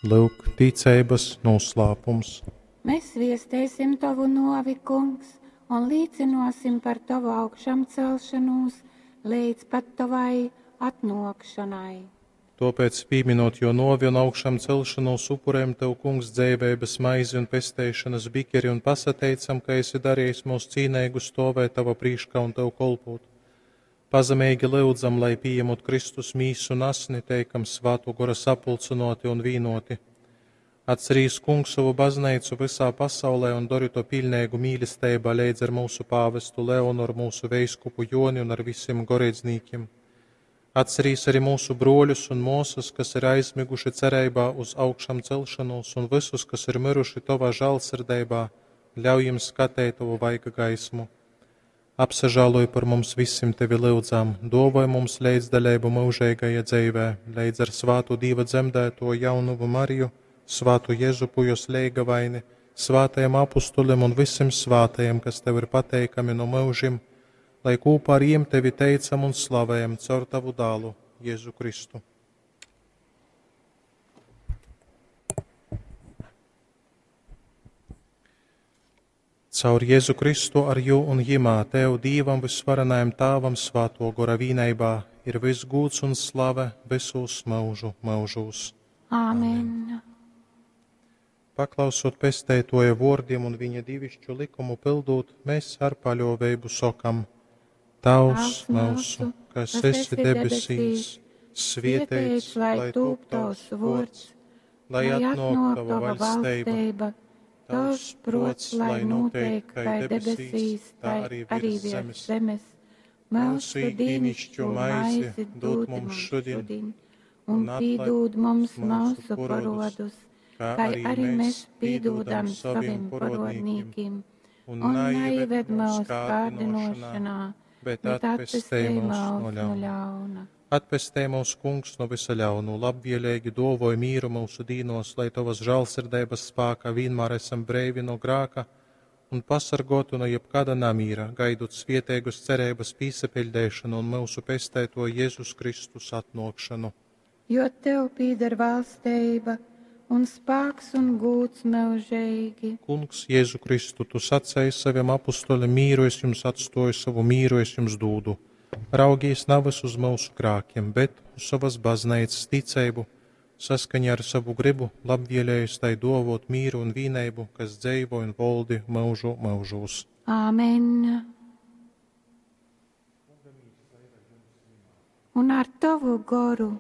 Lyuk, ticeibas nūslāpums. Mēs viestēsim tovu nuovi, Kungs, un līcinosim par tovu augšamcelšanūs leidz pat tovai atnōkšonai. Tōpēc, pīminot jō nōvi un augšamcelšanūs, upurējam Tev, Kungs, dzeiveibas maizi un pesteišonas bikeri un pasateicam, ka esi darījis mūs cīneigu stōvēt Tava prīškā un Tev kolpūt. Pazemeigi lyudzam, lai pījemot Kristus mīsu un asni, teikam Svātō Gora sapulcynōti un vīnōti. Atcerīs, Kungs, sovu bazneicu vysā pasaulē un dori to piļneigu mīlesteibā leidz ar mūsu pāvestu Leonoru, mūsu veiskupu Joni un ar visiem goreidznīkiem. Atcerīs arī mūsu brōļus un māsas, kas ir aizmiguši cereibā uz augšām celšanos, un visus, kas ir miruši Tovā žālsirdeibā, ļauj jiem skatēt Tavu vaiga gaismu. Apsažāloj par mums visim Tevi lyudzam, dovoj mums leidzdaleibu mūžeigajā dzeivē, leidz ar svātu Dīva dzemdēto jaunuvu Mariju, svātu Jezupu jos leigavaini, svātajiem apustulim un visim svātajiem, kas Tev ir pateikami no mūžim, lai kopā ar jiem Tevi teicam un slavējam caur Tavu dālu, Jēzu Kristu. Caur Jēzu Kristu ar jū un jimā Tev, Dīvam vysvarenajam Tāvam svāto gora vīneibā, ir viss gūds un slave visos mūžu mūžūs. Āmen. Amen. Paklausot pesteitoja vōrdim un viņa divišķu likumu pildūt, mēs ar paļōveibu sokam: Tavs mūsu, kas esi debesīs, svieteits, lai tūp tavs vōrds, lai atnōk tava vaļsteiba, tavs prots, lai notiek kai debesīs, tā arī virs zemes. zemes. Mūsu ikdienišķo maizi dod mums šodien, un pīdūd mums mūsu parodus, kā arī mēs pīdūdam saviem parodnīkim, un neieved mūsu kārdinošanā, bet atpestej mūs no ļauna. Atpestej mūs, Kungs, no visa ļaunu, labvēlīgi dovoj mīru mūsu dīnos, lai tavas žālsirdības spākā vienmēr esam breivi no grāka un pasargotu no jebkāda namīra, gaidot svieteigus cerības pīsapiļdēšanu un mūsu pestēto Jēzus Kristus atnokšanu. Jo tev pīder valsteiba un spāks un gūds mūžīgi. Kungs, Jēzu Kristu, tu sacēji saviem apustuļiem mīru es jums atstoju, savu mīru es jums dūdu. Raugīs nevis uz mūsu grākiem, bet uz savas baznīcas ticību, saskaņā ar savu gribu, labvēlējis tai dovot mīru un vīneibu, kas dzeivo un voldi mūžu mūžūs. Āmen. Un ar tavu goru.